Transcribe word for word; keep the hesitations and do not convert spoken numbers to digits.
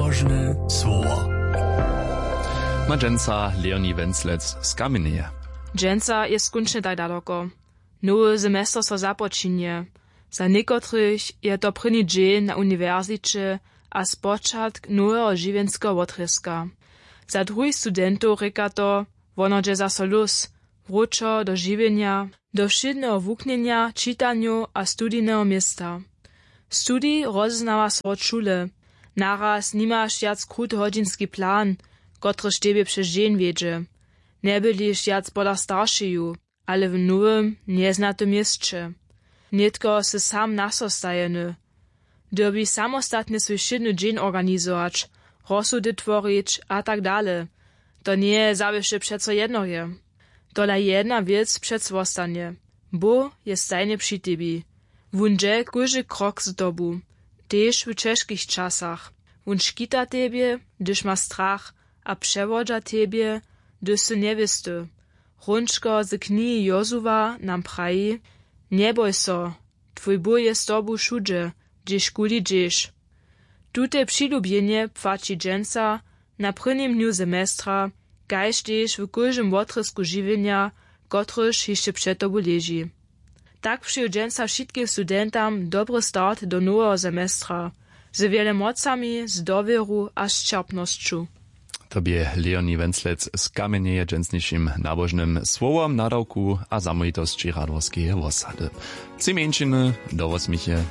Nabožne słowo. Ma dźensa Leonie Wenclec z Kamjenjeje. Dźensa je skónčnje tak daloko. Nowy semester so započinje. Za někotrych je to prěni dźeń na uniwersiće a spočatk noweho žiwjenskeho wotrězka. Za druhich studentow rěka to, wonodźe zaso lós, wróćo do žiwjenja, do wšědneho wuknjenja, čitanjow a studijneho města. Studij rozeznawa so wot šule. Naraz nimaš wjac krut hodźinski plan, kotryž tebje přez dźeń wjedźe. Njebyliš wjac pola staršeju, ale w nowym, njeznatym měsće. Nětko sy sam nasostajeny. Dyrbiš samostatnje swój wšědny dźeń organizować, rozsudy tworić a tak dale. To njeje zawěsće přeco jednoje. Tola jedna wěc přeco wostanje. Bóh je stajnje při tebi. Wón dźe kóždy krok z tobu, tež w ćežkich časach. Wón škita tebje, hdyž ma strach, a přewodźa tebje, hdyž sy njewěsty. Hrónčko z knihi Jozuwa nam praji: Njeboj so, twój Bóh je z tobu wšudźe, hdźežkuli dźeš. Tute přilubjenje płaći dźensa, na prěnim dnju semestra, kaž tež w kóždym wotrězku žiwjenja, kotryž hišće před tobu leži. Tak přeju dźensa wšitkim studentam dobry start do noweho semestra, z wjele mocami, z dowěru a z ćerpnosću. To bě Leonie Wenclec z Kamjenjeje dźensnišim nabožnym słowom nadawku a zamołwitosći Radworskeje wosady. Tři mjeńšiny do wosměchy.